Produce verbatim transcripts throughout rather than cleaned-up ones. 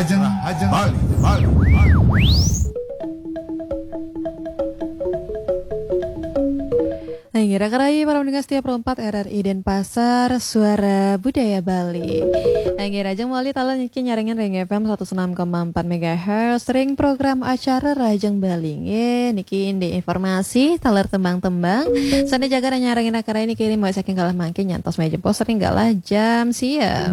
Bali, Bali, Bali. Nah, inggih, raka rayi para pendengar setia Pro empat R R I Denpasar, Suara Budaya Bali. Nah, inggih, rahajeng malih taler niki nyarengin ring F M seratus enam koma empat megahertz, ring program acara Rahajeng Bali. Nggih, niki indik informasi, taler tembang-tembang. Sane jaga nyarengin raka rayi niki ring mulai saking galah mangkin nyantos malih jebos ring galah jam sia.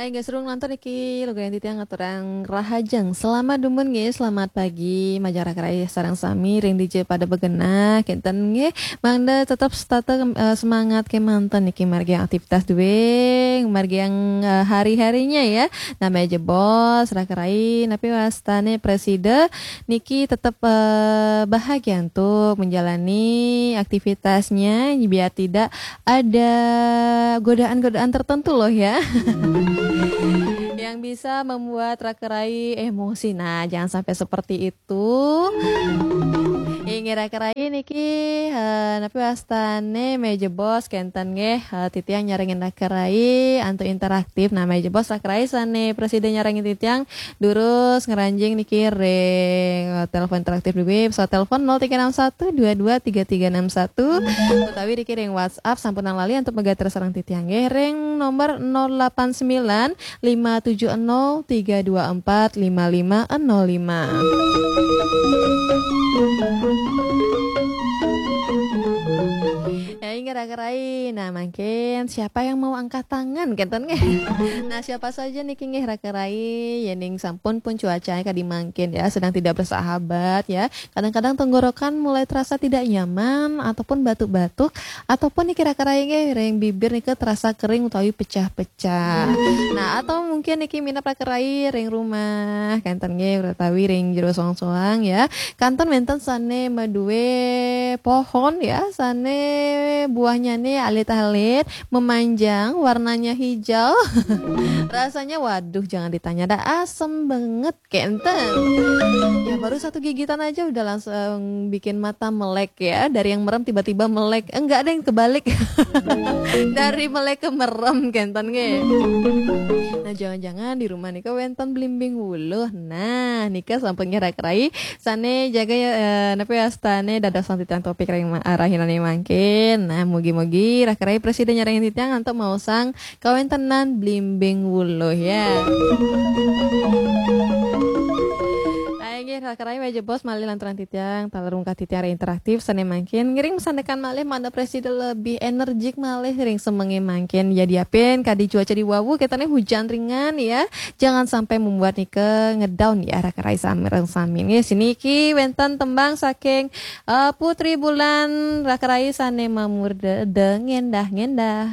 Inggih, sareng lantur niki lugrayang titiang ngaturang rahajeng. Selamat dumun nggih, selamat pagi, majeng raka rayi sareng sami ring dija pada begenah, kenten nggih. Mangda tetep setata, eh, semangat kemanten niki margi aktivitas duwing, margi, eh, hari-harinya ya. Namanya jebos, raka rayi, napi wastane presida niki tetap, eh, bahagia untuk menjalani aktivitasnya, biar tidak ada godaan-godaan tertentu loh ya. Yang bisa membuat raka rayi emosi. Nah, jangan sampai seperti itu. Inggih, raka rayi niki, eh, napi wastane malih jebos kenten nggih, eh, titiang nyarengin raka rayi antuk interaktif. Nah, malih jebos raka rayi sane presida nyarengin titiang durus ngranjing niki ring, eh, telepon interaktif duwing, pesawat telepon nol tiga enam satu dua dua tiga tiga enam satu, utawi niki ring WhatsApp sampunang lali antuk megater sareng titiang nggih ring nomor nol delapan sembilan lima tujuh nol tiga dua empat lima lima nol lima. Ya, inggih raka rayi. Nah, mangkin siapa yang mau angkat tangan, kenten nggih? Nah, siapa saja niki nggih raka rayi, yening sampun pun cuacanya kadi mangkin ya, sedang tidak bersahabat ya. Kadang-kadang tenggorokan mulai terasa tidak nyaman ataupun batuk-batuk ataupun niki raka rayi nggih ring bibir nika terasa kering utawi pecah-pecah. Nah, atau mungkin niki minab raka rayi ring rumah, kenten nggih utawi ring jero soang-soang ya. Kantun wenten sane madue pohon ya, sane buahnya ne alit-alit, memanjang, warnanya hijau. Rasanya, waduh, jangan ditanya dah, asem banget, kenten. Ya, baru satu gigitan aja udah langsung bikin mata melek ya. Dari yang merem tiba-tiba melek. Enggak, ada yang kebalik. Dari melek ke merem, kenten nggih. Nah, jangan-jangan di rumah nika wenten blimbing wuluh. Nah, nika sampun nggih raka rayi. Sane jaga ya, eh, napi wastane dados titiang topik ring ma-, rahinane mangkin. Nah, mugi-mugi raka rayi presida nyarengin titiang antuk maosang kawentenan blimbing wuluh ya. Ayo nggih, raka rayi malih jebos malih lanturang titiang, taler mungkah titiang ring interaktif sane mangkin. Ngiring sandekan malih mangda presida lebih energik malih ring semenge mangkin. Ya, diapin kadi cuaca di wau ketane hujan ringan ya. Jangan sampai membuat nika ngedown ya raka rayi sami ring sami. Nggih, siniki wenten tembang saking, eh, Putri Bulan, raka rayi sane mamurda Dengendah-ngendah.